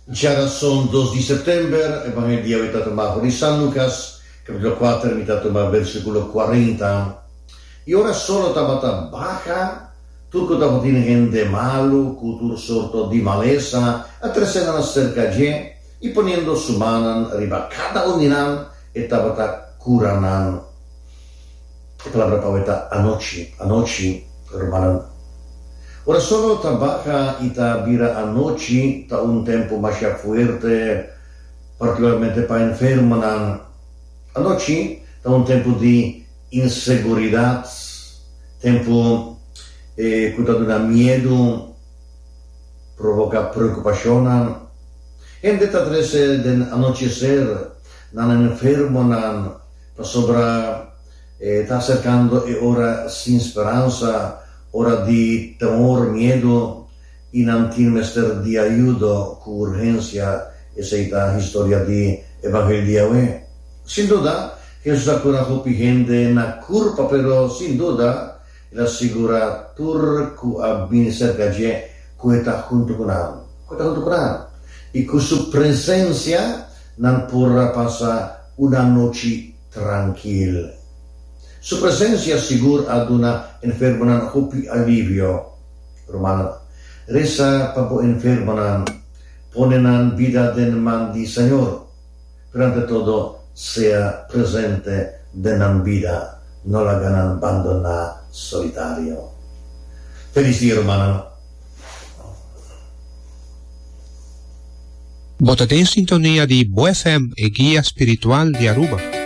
Djarason dos di sèptèmber, Evangelio di awe ta tuma for di San Lukas, kapítulo kuater, mi ta tuma versíkulo kuarenta. I ora solo tabata baha, tur ku tabatin hende malu ku tur sorto di malesa a trese nan aserka dje, i poniendo su mannan riba kada un di nan, e tabata kura nan. E palabra pa awe ta anochi, anochi, rumannan. Ora solo ta baha i ta bira anochi ta un tempu masha fuerte, partikularmente pa enfermonan. Anochi ta un tempu di inseguridat, tempu ku ta duna miedu, provoká preokupashonnan. Hende ta trese den anocheser nan enfermonan. Pasobra e ta aserkando e ora sin speransa, ora di temor, miedu, i nan tin mester di ayudo ku urgensia. Esei ta historia di Evangelio di awe. Sin duda, Hesus a kura hopi hende na kurpa, pero sin duda el a sigurá tur ku a bini serka dje ku e ta huntu ku nan, ku e ta huntu ku nan, i ku su presensia nan por a pasa un anochi trankil. Su presensia sigur a duna enfermonan hopi alivio. Rumannan, resa pa bo enfermonan. Pone nan bida den man di Señor. Pero ante todo, sea presente den nan bida. No laga nan bandoná solitario. Felis dia, rumannan. Bo ta den sintonia di Bo FM, e guia spiritual di Aruba.